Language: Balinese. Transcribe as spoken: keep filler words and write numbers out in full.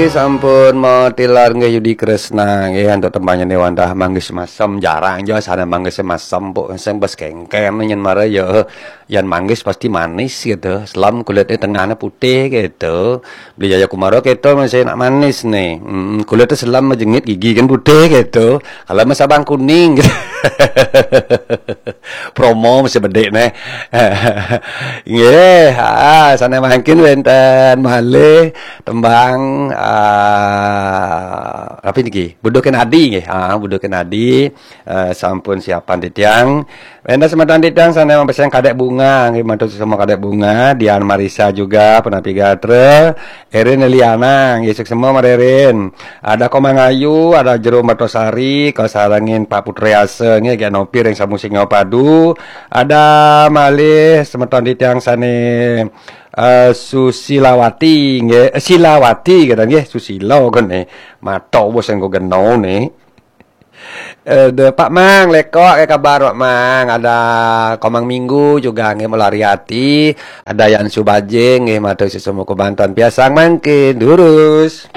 Sampun matilar nggih Yudi Kresna nggih antuk tembangnya Dewantah manggis masem, jarang jo sana manggis masem, pok sing bes kengken nyen mara ya. Yan manggis pasti manis gitu. Selam kulitnya tengahnya putih gitu. Beli Jaya Kumaro gitu masih nak manis nih. Hmm, kulitnya selam majengit gigi kan putih gitu. Kalau mas abang kuning gitu. Promo masih bedik nih. Nggih, ah, sana mangkin wenten malih tembang, ah, apa niki? Buduh Kenadi nggih. Ah, Buduh Kenadi, eh, sampun siapan titiang. Wenten semeton titiang sana mapesen Kadek Bunga nggih, matur semua Kadek Bunga, Dian Marisa juga, Penapi Gatra, Erin Eliana nggih, suksma Marerin. Ada Komang Ayu, ada Jero Mertosari, kasarengin Pak Putriasa nggih, Genopir yang samu singa padu. Ada malih semeton titiang sane, eh, Susilawati nggih, eh, Silawati kata nggih, Susila kene. Mato bos engko geno ne. Eh, de, Pak Mang, lekok ya kabar Pak Mang. Ada Komang Minggu juga nggih, Melari Ati. Ada Yan Subaje nggih, matur sesama kebantuan piasang mangkin. Durus.